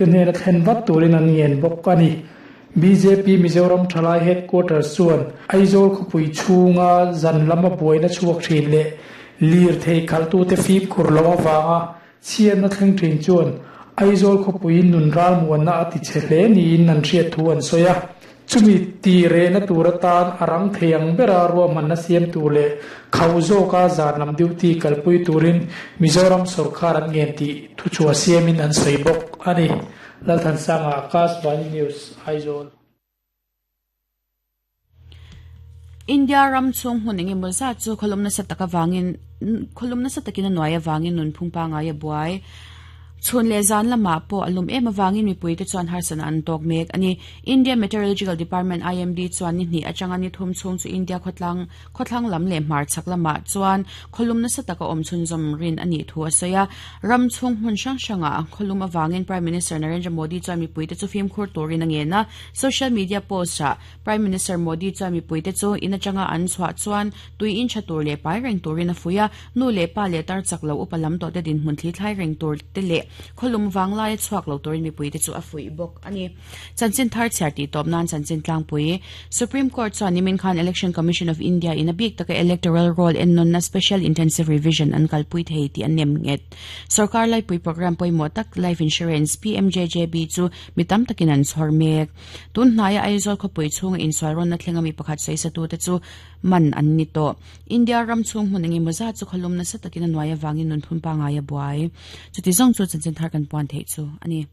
Te hnena thlen vat turin an ngen bawk a ni. Bjp Mizoram Thalai Headquarters chuan Aizawl khawpui chhunga zan lama buaina chhuak thin leh lirthei khalhtute fimkhur loh avanga chhiatna thleng thin chuan Aizawl khawpuiin nun ralmuanna a tichhe hle niin an hriat thu an sawi a. Chumi ti rehna tur atan a rang thei ang bera ruahmanna siam tur leh khauh zawka zan lam duty kalpui turin Mizoram sawrkar an ngen tih thuchhuah siamin an sawi bawk a ni. Lalthansanga, Akashvani News, Aizawl. India ram chhung hmun eng emaw zat chu khawlum nasa tak avangin khawlum nasa takin a nuai avangin nunphung pangngai a buai. Chhun leh zan lamah pawh a lum em avangin mipuite chuan harsatna an tawk mek a ni. India Meteorological Department, IMD, chuan ni hnih atanga ni thum chhung chu India khawtlang khawthlang lam leh hmarchhak lamah chuan khawlum nasa taka awm chhunzawm rin a nih thu a sawi a. Ram chhung hmun hrang hrangah khawlum avangin Prime Minister Narendra Modi chuan mipuite chu fimkhur turin a ngen a. Social media post-ah Prime Minister Modi chuan mipuite chu in atanga an chhuah chuan tui in tha tur leh pai reng turin a fuih a, nu leh pa leh tar chak lo upa lam tawh te dinhmun thli thlai reng tur te leh khawlum vanglai a chhuak lo turin mipuite chu a fuih bawk a ni. Chanchin thar chhiar tih tawp nan chanchin tlangpui Supreme Court chuan nimin khan Election Commission of India in a bik taka Electoral Roll ennawnna Special Intensive Revision an kalpui thei tih a nem nghet. Sorkar laipui programme pawimawh tak Life Insurance, PMJJB, chu mi tam takin an chhawr mek. Tun hnaia Aizawl khawpui chhunga insual rawnna thlenga mi pakhat sawisatute chu man an ni tawh. India ram chhung hmun engemaw zat chu khawlum nasa takin a nuai avangin nunphun pangngai a buai. Chuti zawng chu chanchin thar kan puan theih chu a ni.